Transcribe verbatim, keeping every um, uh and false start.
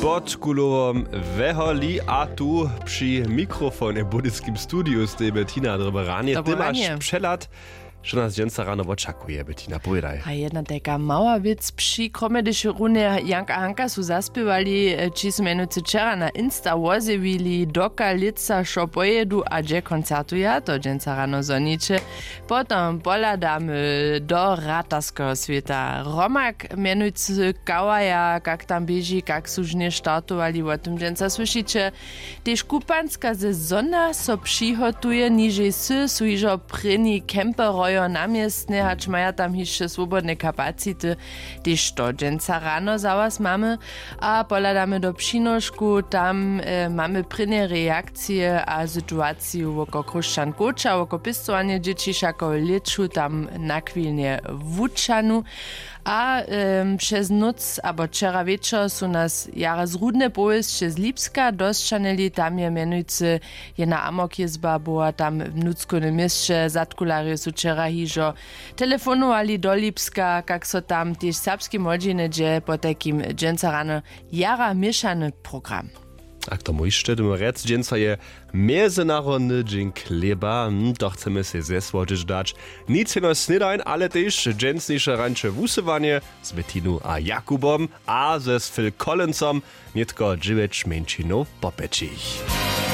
Pod kulowom weholi a tu při mikrofonje w budyskim studiju steji Bettina. Dobre ranje. Ty maš přehlad, što nas dźensa rano wočakuje, Bettina, powědaj. A jedna tajka mała wěc. Při kromje, hdyž runje Jank a Hanka su zaspěwali, či su mjenujcy wčera na Insta wozjewili, doka lětsa wšo pojedu a hdźe koncertuja, to dźensa rano zhoniće. Potom pohladamy do ratarskeho swěta. Romak mjenujcy kawaja, kak tam běži, kak su žnje startowali, wo tym dźensa słyšiće. Tež kupanska sezona so přihotuje. Nižej sy su hižo prěni kemperojo na městnje, hač maja tam hišće swobodne kapacity. Tež to dźensa rano za was mamy. A pohladamy do Přinošku, tam mamy prěnje reakcije a situaciju woko Chróšćan Kóča, woko pěstowanje dźěći wšako w lěću tam nachwilnje wučanu. A přez nóc abo wčera wječor su nas jara zrudne powěsće z Lipska dosćanili. Tam je mjenujcy jedna amokhězba była tam w nutřkownym měsće. Zadkularjo su wčera hižo telefonowali do Lipska, kak so tam tež serbskej młodźinje dźe. Potajkim dźensa rano jara měšany program. A k tomu hišće dymy rjec, dźensa je mjezynarodny dźeń chlěba. Hm, to chcemy sej zesłodźeć dać. Nic jenož snědań, ale tež dźensniše rańše wusyłanje z Bettinu a Jakubom a ze Phil Collinsem nětko dźewjeć mjeńšinow po pjećich.